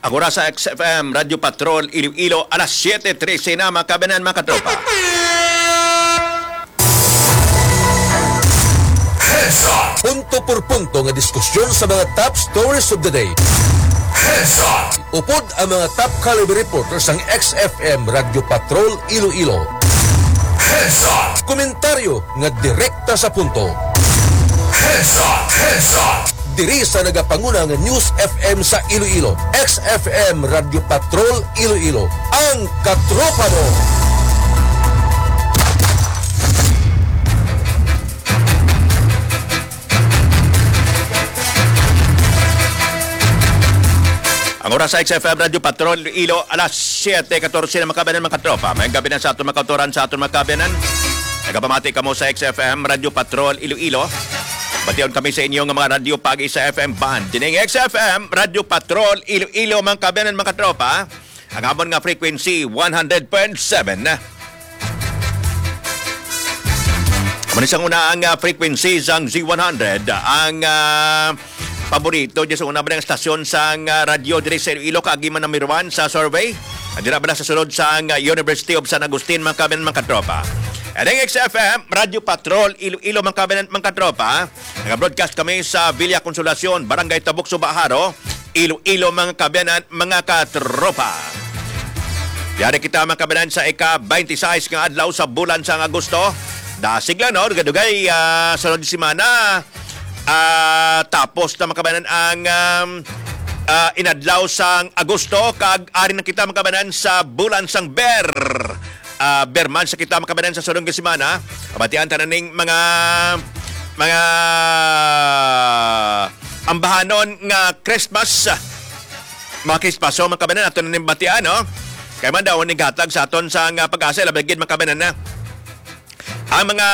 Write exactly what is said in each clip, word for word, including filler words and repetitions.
Ang oras sa X F M Radyo Patrol Iloilo, alas siyete trese na, mga kabanan, mga katropa. Heads Up! Punto por punto nga diskusyon sa mga top stories of the day. Heads Up! Upod ang mga top caliber reporters sang X F M Radyo Patrol Iloilo. Heads Up! Komentaryo nga direkta sa punto. Heads Up! Heads Up! Diri sa nagapanguna nga News F M sa Iloilo, X F M Radyo Patrol Iloilo, ang katropa mo. Ang oras sa X F M Radyo Patrol Iloilo, alas siyete katorse na, mga kabanan, mga katropa. May gabi na sa aton mga kautoran, sa aton mga kabanan. Nagapamati kamo sa X F M Radyo Patrol Iloilo. Bation kami sa inyo nga mga radyo pagi sa F M band. Dining X F M Radyo Patrol Iloilo, mga kabanan, mga katropa. Ang amon nga frequency, one hundred point seven. Amo ni sang una ang, ah, frequency sang Z one hundred. Ang, ah, paborito dyan sa una ba ang stasyon sang, ah, radyo diri sa Iloilo, kaagi man number one sa survey. Dira ba na sa sulod sang, ah, University of San Agustin, mga kabanan, mga katropa. And ang X F M, Radyo Patrol, Iloilo, mga kabanan, mga katropa. Nag-broadcast kami sa Villa Consolacion, Barangay Tabuk, Sugbo, Jaro, Iloilo, mga kabanan, mga katropa. Yari kita, mga kabanan, sa ika-twenty-six nga adlaw sa bulan sang Agosto. Dasig lang, no? Dugay-dugay, ah, sunod semana, ah, tapos na, mga kabanan, ang, um, ah, inadlaw sang Agosto, kag ari na kita, mga kabanan, sa bulan sang Ber. Ah, Ber month sa kita, mga kabanan, sa sulod nga semana. Pabatian ta na ning mga, mga ambahanon nga Christmas. Mga Christmas, so, mga kabanan, ato na ning batian, no? Kay man daw ning hatag sa aton sa nga PAGASA, labi gid, mga kabanan, na ang mga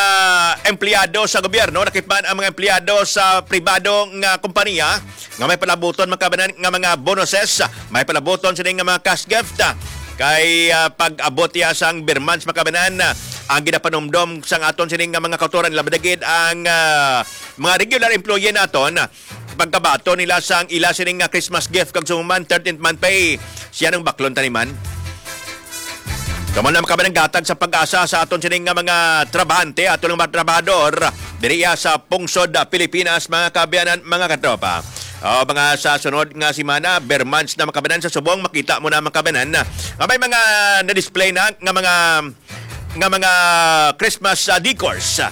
empleyado sa gobyerno, lakip man ang mga empleyado sa pribado nga kompanya, nga may palabuton, mga kabanan, nga mga bonuses, may palabuton sini nga mga cash gift. Kay, ah, pag-abot iya sang Ber month, mga kabanan, ah, ang ginapanumdom sang aton sini nga mga kautoran, labi na gid ang, ah, mga regular employee naton, ah, pagkabaton nila sang ila sini nga Christmas gift kag sumuman thirteenth month pay, siya nang baklon taniman. Kamo na, mga kabanan, hatag sa PAGASA sa aton sini nga mga trabahante, aton nga mga trabahador diri iya sa pungsod, ah, Pilipinas, mga kaabyanan, mga katropa. O, mga sa sunod nga semana, Ber months na, mga kaabyanan, sa subong makita mo na, mga kaabyanan, nga may mga na-display na nga mga, nga mga Christmas, ah, decors, ah,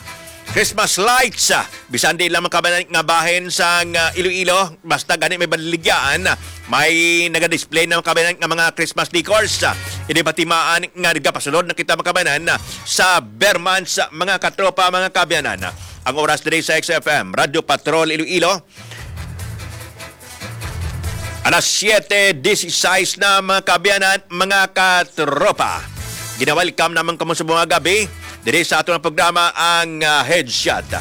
Christmas lights, ah, bisan di lang, mga kaabyanan, nga bahin sang, ah, Iloilo, basta gani may baligyaan, ah, may naga-display na, mga kaabyanan, nga mga Christmas decors, ah, ini batimaan nga nagapasulod na kita, mga kaabyanan, ah, sa Ber months, mga katropa, mga kaabyanan. Ang oras diri sa X F M, Radyo Patrol Iloilo. Alas siyete dieciséis na, mga kaabyanan, mga katropa. Gina-welcome naman kamo sa mga gabi diri sa aton programa, ang, ah, Headshot.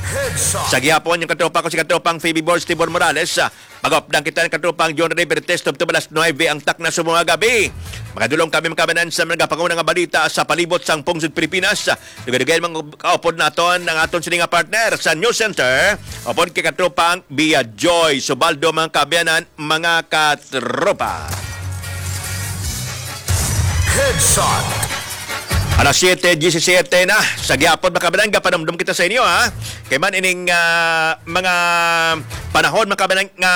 Headshot. Sa gihapon, yung katropa ko, si katropang Phoebe Borges Tibor Morales, ah, mag-update kita ng katropang John Ray Bertes, tubtob alas nuebe ang takna sa mga gabi. Makadulong kami, mga kaabyanan, sa mga pangunang nga balita sa palibot sang pungsod Pilipinas. Dugay-dugay, mga kaupod naton ang aton sini nga partner sa News Center, upod kay katropang Bia Joy Subaldo, mga kaabyanan, mga katropa. Headshot. Alas siyete diecisiete na. Sa gihapon, mga kaabyanan, gapanumdom kita sa inyo, ha. Kay man ining, ah, mga panahon, mga kaabyanan, nga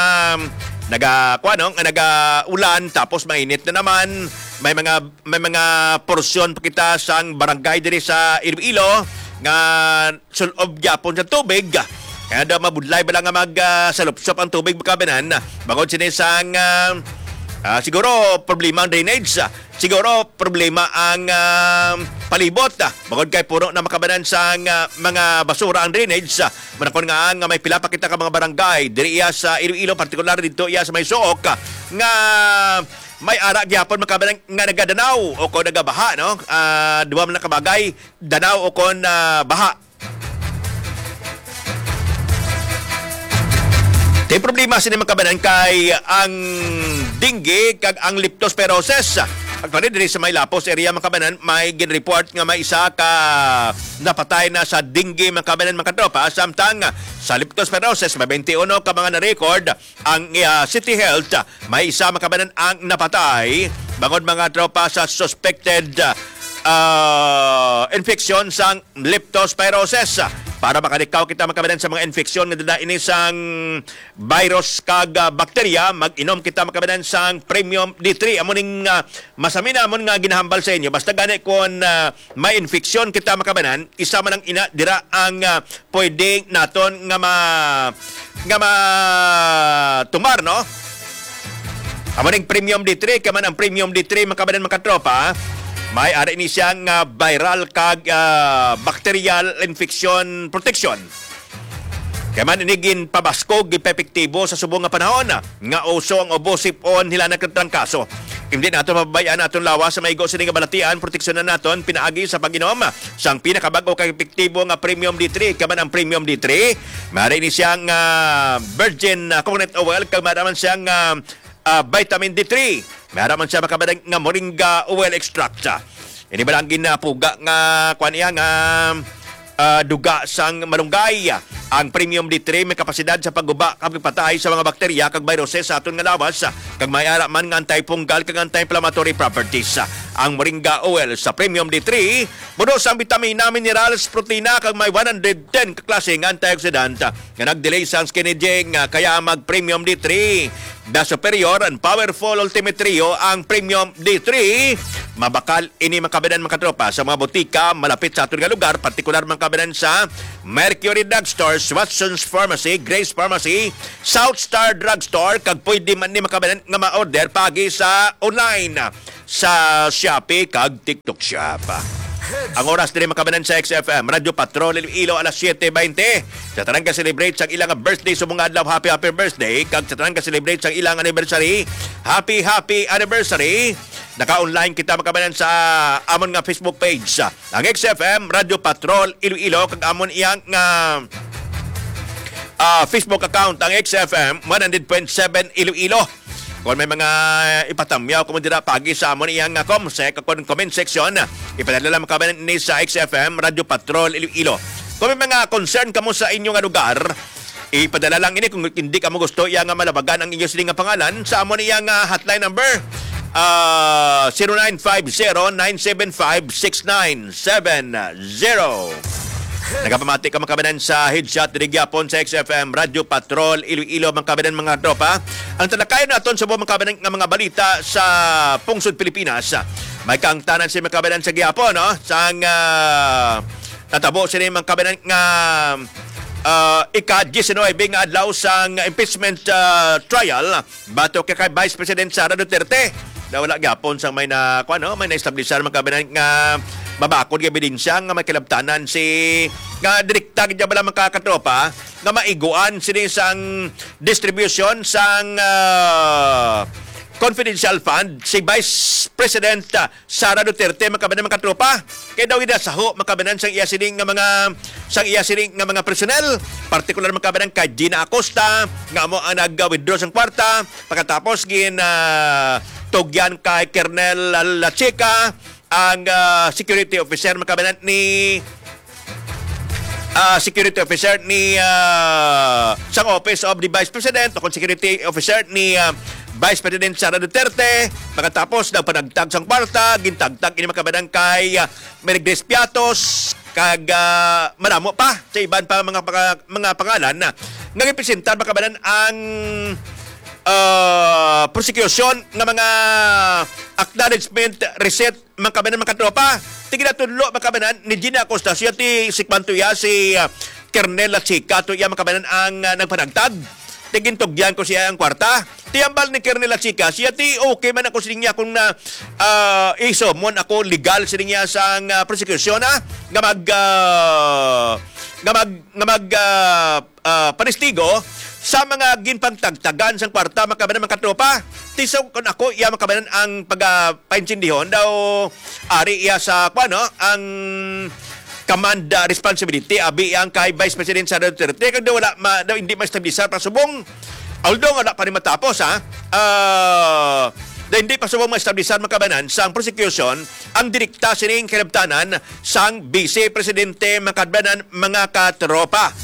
naga, kuwan, no, nga naga-ulan, tapos mainit na naman. May mga, may mga porsyon pa kita sang barangay diri sa Iloilo nga sul-ob gyapon sa tubig. Kaya daw mabudlay ba lang nga mag, ah, salupsop ang tubig, mga kaabyanan? Bangod sini sang, ah, ah, siguro problema ang drainage. Siguro problema ang, ah, palibot. Bangod kay puno na, mga kaabyanan, sang, ah, mga basura ang drainage. Manakon nga, nga may pila pa kita ka mga barangay diri iya sa Iloilo, partikular dito iya sa may Suok, nga may ara gyapon, mga kaabyanan, nga nagadanaw o kon nagabaha, no? Ah, duha man na kabagay, danaw o kon, ah, baha. Tay problema sini, mga kaabyanan, kay ang dengue kag ang leptospirosis. Actually, diri sa may Lapos area, mga kaabyanan, may gin-report nga may isa ka napatay na sa dengue, mga kaabyanan, mga katropa. Samtang Sa leptospirosis, may twenty-one ka mga na-record ang, ah, City Health. May isa, mga kababayan, ang napatay bangod, mga tropa, sa suspected, ah, infection sang leptospirosis. Para makalikaw kita, mga kababayan, sa mga infeksyon nga dala ini sang virus kag, ah, bakterya, mag-inom kita, mga kababayan, sang Premium D three. Amo ning, ah, masaminamon nga ginahambal sa inyo. Basta gani kon, ah, may infeksyon kita, mga kababayan, isa man ang ina, dira ang, ah, pwede naton nga ma-, nga matumar, no? Amo ning Premium D three, kay man ang Premium D three, mga kababayan, mga tropa, may ari ni siya nga viral kag, ah, bacterial infection protection. Kay man ini ginpabaskog, ginpaepektibo sa subong nga panahon nga uso ang ubo, sip-on, hilanat kag trangkaso. Hindi nato mababayan aton lawas sa maigo sini nga balatian, proteksyonan naton pinaagi sa pag-inom sang pinakabag-o kag epektibo nga Premium D three, kay man ang Premium D three. Maaari ni siya nga virgin, ah, coconut oil, kag maaari man siya nga, ah, vitamin D three. Maaari man siya, mga kababayan, nga moringa oil extract. Ini ba lang ginapuga nga, kuwan niya, nga, ah, duga sang malunggay? Ang Premium D three may kapasidad sa pagguba kag pagpatay sa mga bakterya kag viruses sa aton nga lawas, kag may ara man nga antifungal kag anti-inflammatory properties. Ang moringa oil sa Premium D three puno sang bitamina, minerals, protina, kag may one hundred ten ka klase nga antioxidant nga nag-delay sang skin aging, ah, kaya mag Premium D three. The superior and powerful Ultimate Trio ang Premium D three. Mabakal ini, mga kababayan, mga tropa, sa mga botika malapit sa aton nga lugar, partikular, mga kababayan, sa Mercury Drugstore, Watson's Pharmacy, Grace Pharmacy, South Star Drugstore, kag pwede man ni, mga kababayan, nga ma-order pagi sa online sa Shopee kag TikTok Shop. Ang oras diri, mga kababayan, sa X F M Radyo Patrol Iloilo, alas siete baynte. Sa tanan ka-celebrate sang ilang birthday subong nga adlaw, happy, happy birthday. Kag sa tanan ka-celebrate sang ilang anniversary, happy, happy anniversary. Naka-online kita, mga kababayan, sa amon nga Facebook page, ang X F M Radyo Patrol Iloilo, kag amon iyang, ah, ah, Facebook account, ang X F M one hundred point seven Iloilo. Kung may mga ipatamyaw kamo dira pagi sa amon iyang, ah, comsec, kung comment section, ipadala lang kamo ni sa X F M Radyo Patrol Iloilo. Kung may mga concern kamo sa inyo nga lugar, ipadala lang ini kung hindi kamo gusto iya nga malabagan ang inyo sini nga pangalan sa amon iyang, ah, hotline number, ah, zero nine five zero, nine seven five, six nine seven zero. Nagapamati ka, mga kababayan, sa headshot diri gyapon sa X F M Radyo Patrol Iloilo, mga kababayan, mga tropa. Ang talakayan naton sa mga kababayan nga mga balita sa pungsod Pilipinas. May kaangtanan si, mga kababayan, sa gyapon, no? Sang, ah, natabo sini, mga kababayan, nga, ah, ika-diecinuebe nga adlaw sang impeachment, ah, trial batok kay Vice President Sara Duterte. Na wala gyapon sang may na, kuwan, no, may na-establisar, mga kababayan, nga mabakod nga ebidensya nga may kalabtanan si, nga direkta gid bala, mga katropa, nga maiguan sini sang distribution sang, ah, confidential fund si Vice President, ah, Sara Duterte, mga kababayan, mga katropa. Kay daw ginasaho, mga kababayan, sang iya sini nga mga, sang iya sini nga mga personnel, partikular, mga kababayan, kay Gina Acosta, nga amo ang nag-withdraw sang kwarta, pagkatapos gin, ah, tugyan kay Colonel Lachica, ang, ah, security officer, mga kababayan, ni, ah, security officer ni, ah, sang Office of the Vice President, o kung security officer ni, ah, Vice President Sara Duterte. Pagkatapos, nagpanagtag sang kwarta, gintagtag ini, mga kababayan, kay, ah, Mary Grace Piatos, kag, ah, madamo pa sa iban pa mga panga-, mga pangalan na nga gipresentar, mga kababayan, ang, ah, prosecution nga mga acknowledgement receipt, mga kababayan, mga katropa. Ti ginatudlo, mga kababayan, ni Gina Acosta, siya ti si kwan to iya, si, ah, Colonel Lachica to iya, mga kababayan, ang, ah, nagpanagtag. Ti gintugyan ko siya ang kwarta. Ti hambal ni Colonel Lachica, siya ti okay man ako sining iya kung na, ah, isumon ako legal sining iya sang, ah, prosecution, ah, nga mag, ah, nga mag, nga mag, ah, ah, panistigo sa mga ginpangtagtagan sang kwarta, mga kababayan, mga katropa. Ti so kon ako iya, mga kababayan, ang pag, ah, paintindihon daw ari iya sa, kuwan, no, ang command, ah, responsibility abi ang kay Vice President Sara Duterte, kag daw wala ma-, daw hindi ma-establisar pa subong, although wala pa ni matapos, ha, ah, daw hindi pa subong ma-establisar, mga kababayan, sang prosecution ang direkta sining kalabtanan sang Vice Presidente, mga kababayan, mga katropa.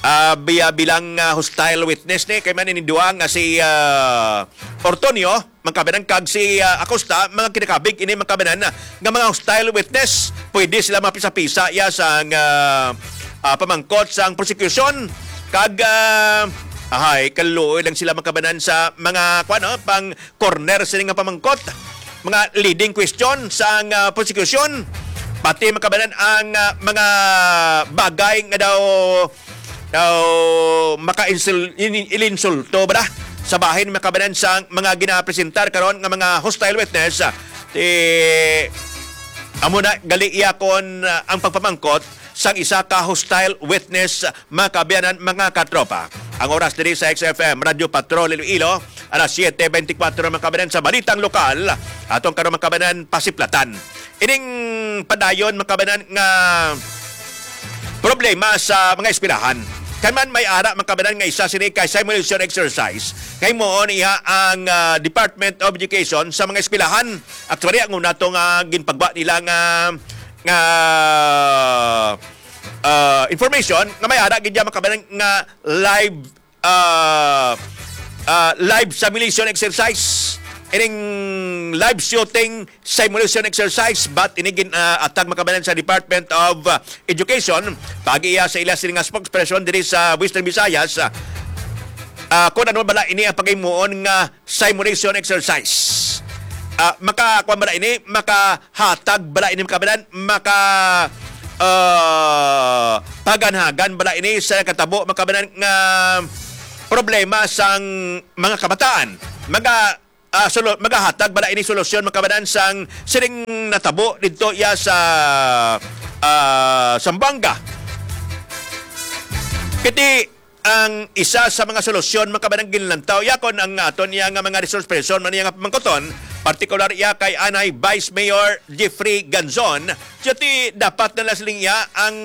ah, biya bilang, ah, hostile witness ni kay man ini duha nga si, ah, Ortonio, mga kabanan, kag si, ah, Acosta, mga kinakabig ini, mga kabanan, nga mga hostile witness. Pwede sila mapisa-pisa ya sang, ah, ah, pamangkot sang prosecution. Kag, ah, ahay, kaluoy lang sila, mga kabanan, sa mga, kuwan, no, pang corner sini nga pamangkot, mga leading question sang, ah, prosecution, pati, mga kabanan, ang, ah, mga bagay nga daw, daw maka-insul-, in-, ilinsulto ba sa bahin, mga kabanan, sang mga ginapresentar karon nga mga hostile witness. Ah, ti, amo na gali iya kon, ah, ang pagpamangkot sang isa ka hostile witness, mga kaabyanan, mga katropa. Ang oras diri sa X F M Radyo Patrol Iloilo, alas siyete beintikwatro, mga kaabyanan, sa balitang lokal. Atong karon, mga kaabyanan, pasiplatan ining padayon, mga kaabyanan, nga problema sa mga eskwelahan. Kay man may ara, mga kaabyanan, nga isa sini kay simulation exercise. Kay mo niya ang, ah, Department of Education sa mga eskwelahan. Actually, ang una to nga ginpagwa nila nga, nga, ah, information nga may ara gid, mga kaabyanan, nga live, ah, ah, live simulation exercise, ining live shooting simulation exercise, but ini gin, ah, atag, mga kaabyanan, sa Department of, ah, Education, pag-iya sa ila sila nga spokesperson diri sa Western Visayas, ah, ah, kung ano bala ini ang paghimuon nga simulation exercise. Ah, maka, kuwan bala ini, makahatag bala ini, mga kaabyanan, maka, ah, paganhagan bala ini sa katabo, mga kaabyanan, nga problema sang mga kabataan. Maga, ah, solo-, magahatag bala ini solusyon, mga kaabyanan, sang sining natabo didto iya sa, ah, Zamboanga. Kiti ang isa sa mga solusyon, mga kaabyanan, ginlantaw. Yakon ang aton iya nga mga resource person, man iya nga pamangkoton, partikular iya kay anay Vice Mayor Jeffrey Ganzon. Jati, dapat na lang siling iya ang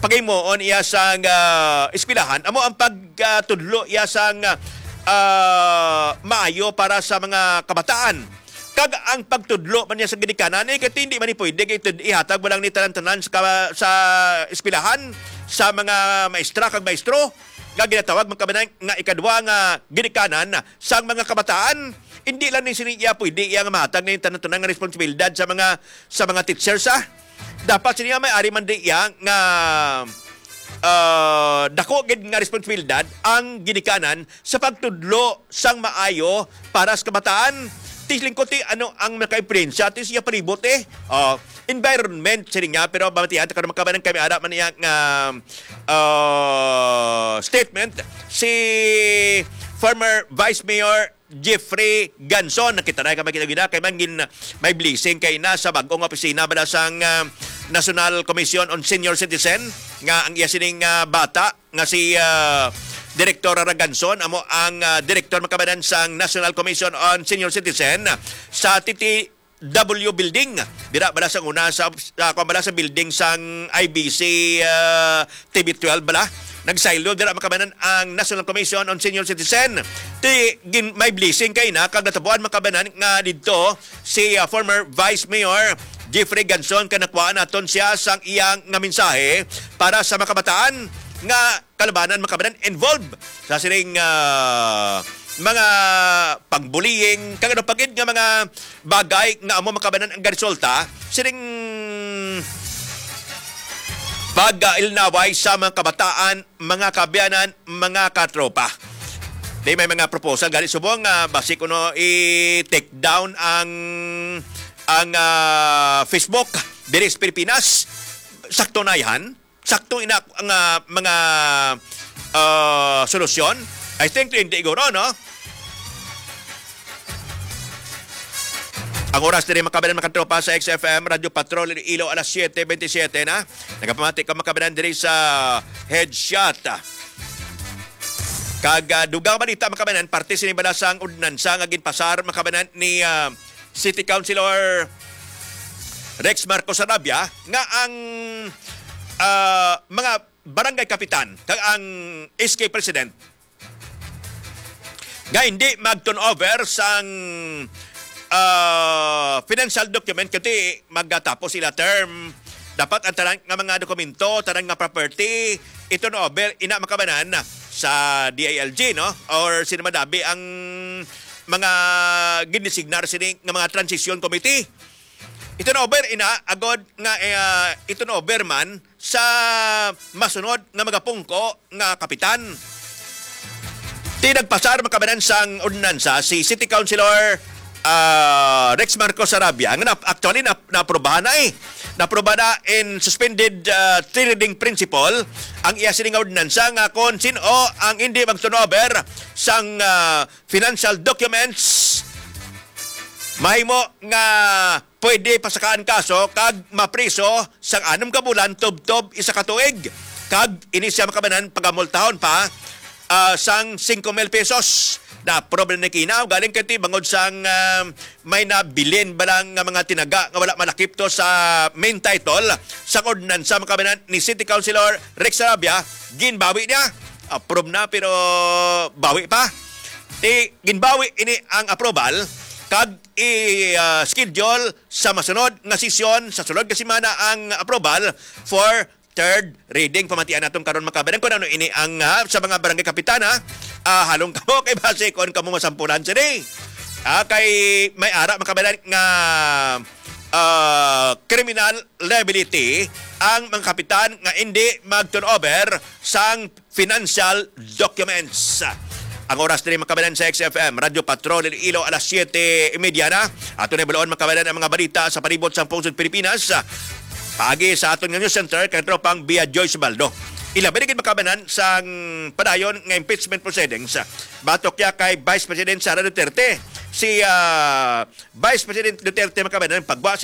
paghimuon iya sa, ah, eskwelahan. Amo ang pagtudlo iya sa, ah, maayo para sa mga kabataan. Kag ang pagtudlo man niya sa ginikanan, eh, kay hindi man ni pwede kay tud-, ihatag mo lang ni tanan-tanan sa ka-, sa eskwelahan, sa mga maestra kag maestro, nga ginatawag, mga kaabyanan, nga ikadwa nga ginikanan sang mga kabataan. Hindi lang ni sini iya pwede iya nga mahatag ni tanan-tanan nga responsibilidad sa mga, sa mga teachers, ah. Dapat sini nga may ari man di iya nga, ah, dako gid nga responsibilidad ang ginikanan sa pagtudlo sang maayo para sa kabataan. Ti lingkod ti ano ang makaimpluwensya ti siya palibot, eh. Oh, environment, sini nga, pero mabatian ta karon, mga kaabyanan, kami ara man niya nga, ah, statement si former Vice Mayor Jeffrey Ganson. Nakita na kami kita gina kay mangin may blessing kay na sa bag-ong opisina bala sang, ah, National Commission on Senior Citizen, nga ang iya sining, ah, bata nga si, ah, Direktor Raganson amo ang, ah, direktor, mga kaabyanan, sang National Commission on Senior Citizen sa T T W Building. Dira bala sang una sa, sa, kuwan bala sa building sang I B C, ah, T V twelve bala. Nagsaylo dira, mga kaabyanan, ang National Commission on Senior Citizen. Ti gin-, may blessing kay na kag natabuan, mga kaabyanan, nga didto si, ah, former Vice Mayor Jeffrey Ganson, kanakuan naton siya sang iyang nga mensahe para sa mga kabataan nga kalabanan, mga kaabyanan, involved sa sining, ah, mga pangbullying, kag ano pa gid nga mga bagay nga amo, mga kaabyanan, ang garesulta sining pag-ilinaway sa mga kabataan, mga kaabyanan, mga katropa. Di may mga proposal gani subong nga basi kuno i-take down ang, ang, ah, Facebook diri sa Pilipinas. Sakto na yan. Sakto ina ang, ah, mga, ah, solusyon. I think hindi guro, no? Ang oras diri, mga kaabyanan, mga katropa, sa X F M Radyo Patrol Iloilo, alas siyete bentisiete na. Nagapamati ka, mga kaabyanan, diri sa Headshot. Kag, ah, dugang balita, mga kaabyanan, parte sini bala sang ordinansa nga ginpasar, mga kaabyanan, ni, ah, City Councilor Rex Marcos Sarabia nga ang, ah, mga barangay kapitan kag ang S K president nga hindi mag-turn over sang, ah, financial document kay magatapos sila term, Dapat ang tanan nga mga dokumento, tanan nga property, i-turn over ina, mga kabanan, sa D I L G, no? Or sino man dabi ang mga ginisignar sini nga mga transition committee. I-turn over ina, agod nga, eh, ah, i-turn over man sa masunod nga magapungko nga kapitan. Ti nagpasar, mga kabanan, sang ordinansa si City Councilor, ah, Rex Marcos Sarabia, nga nap-, actually nap-, naaprubahan na, eh. Naaprubahan na in suspended, ah, three reading principle ang iya sini nga ordinansa nga kon sin-o ang hindi mag-turn over sang, ah, financial documents, mahimo nga pwede pasakaan kaso kag mapriso sang anom ka bulan tubtob isa ka tuig, kag ini siya, mga kabanan, pagamultahon pa, ah, sang singko mil pesos. Na-approve na ni Kinaw, galing kay ti bangod sang, ah, may nabilin ba lang nga mga tinaga nga wala malakip to sa main title sang ordinansa, mga kabanan, ni City Councilor Rex Sarabia. Ginbawi niya. Approve na, pero bawi pa. Ti ginbawi ini ang approval, kag i, ah, schedule sa masunod nga sesyon sa sulod nga semana ang approval for third reading. Pamatian naton karon, mga kabanan, kung ano ini ang, ah, sa mga barangay kapitana. Ah, halong kamo kay basi kon kamo masampulan sini. Ah, kay may ara, mga kabanan, nga, ah, criminal liability ang mga kapitan nga hindi mag-turn over sang financial documents. Ang oras diri, mga kabanan, sa X F M Radyo Patrol Iloilo, alas siyete y media na. Ato na ibaloon, mga kabanan, ang mga balita sa palibot sang pungsod Pilipinas. Paagi sa aton nga news center kay tropang Bia Joyce Baldo. Ilabi na gid, mga kabanan, sang padayon nga impeachment proceedings batok ya kay Vice President Sara Duterte. Si, ah, Vice President Duterte, mga kabanan, pagwa